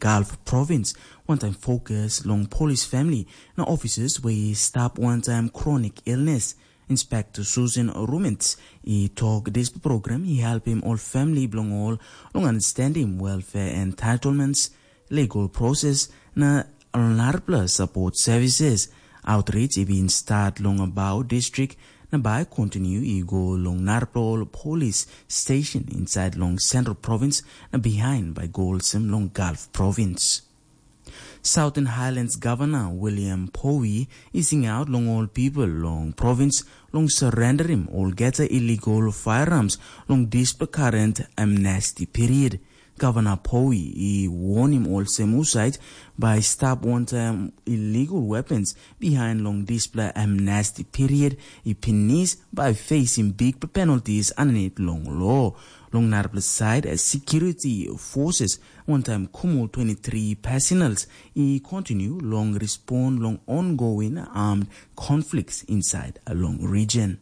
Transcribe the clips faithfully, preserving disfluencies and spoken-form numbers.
Gulf Province, wantaim fokus long polis famili na ofisas we i stap wantaim kronik ilnes. Inspektor Susan Rumens i tok dispela program i helpim ol famili bilong ol long understandim welfare entitlements, legal process na narapela support services. Outreach i bin start long Abao district na bai kontinu i go long narapela ol polis station inside long Central Province na behind bai go olsem long Gulf Province. Southern Highlands Governor William Powi i singaut long ol pipel long provins long sarenderim olgeta illegal firearms long dispela current amnesty period. Governor Powi i warnim olsem husat bai stap wantaim illegal weapons behind long dispela amnesty period i pinis bai facing big penalties underneath long law. Long narapela side, security forces wantaim Kumul twenty-three personals i continue long respond long ongoing armed conflicts inside a long region.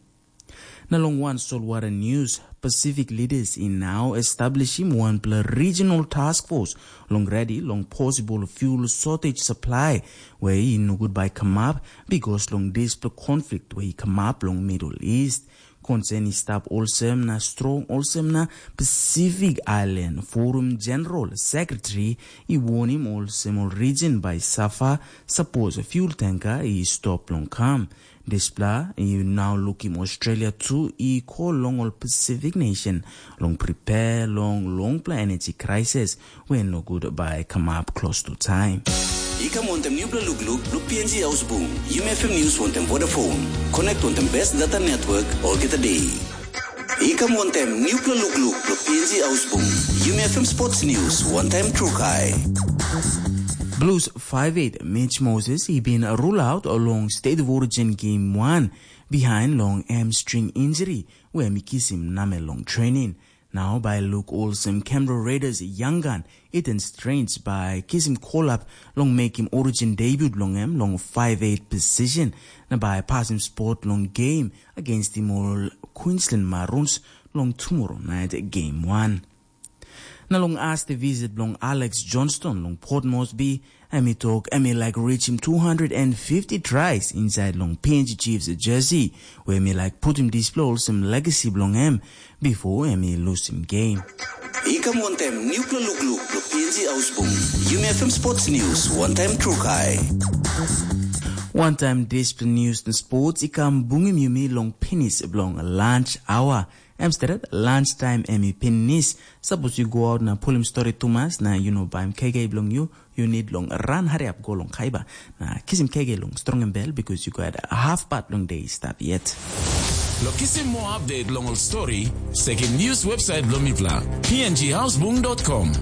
Na long wan solwara news, Pacific leaders i now establishim wanpela regional task force long ready long possible fuel shortage supply, where i no good by kamap because long dispela conflict where i kamap long Middle East. Concern i stap olsem na strong olsem na Pacific Island Forum General Secretary i warning olsem ol region by Safa suppose fuel tanker i stop long kam. Dispela i now lukim Australia tu i call long ol Pacific nation long prepare long longpela energy crisis wey no good bai kamap close to time. I kam wantem nupela lukluk bilong P N G Hausbung. Yumi F M News wantem Vodafone. Connect wantem best data network olgeta day. I kam wantem nupela lukluk bilong P N G Hausbung. Yumi F M Sports News wantem Trukai. Blues five eight Mitch Moses i bin rule out long State of Origin Game one behind long hamstring injury wey em i kisim namel long training. Nau bai luk olsem Canberra Raiders young gun Ethan Strange bai kisim kolap long mekim origin debut long em long five eight position na bai pasim spot long game against tim ol Queensland Maroons long tomorrow night game one. Na long as the visit bilong Alex Johnston long Port Moresby, em i tok em i laik reachim two hundred and fifty tries inside long P N G Chiefs jersey, where em i laik putim dispela olsem legacy bilong em before em i lusim game. I kam wantem nupela lukluk bilong P N G Ausbung. Yumi F M Sports News, wantaim Trukai. Wantaim dispela news na sports i kam bungim yumi long pinis bilong lunch hour. Em stret, lunch time em i pinis. Sapos yu go out na pulim stori tumas na yu no baim kege bilong yu, yu nid long ran hariap go long kaiba na kisim kege long strongim bel, because yu gat half part long day stap yet. Lo kisim mo update long ol story, sekim news website bilong mipela, p n g housebung dot com.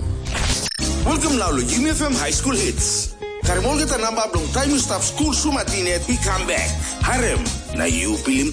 Welcome now lo Yumi F M High School Hits. Karim olgeta namba bilong taim yu stap skul sumatin yet i kam bek. Harem, na yu pilim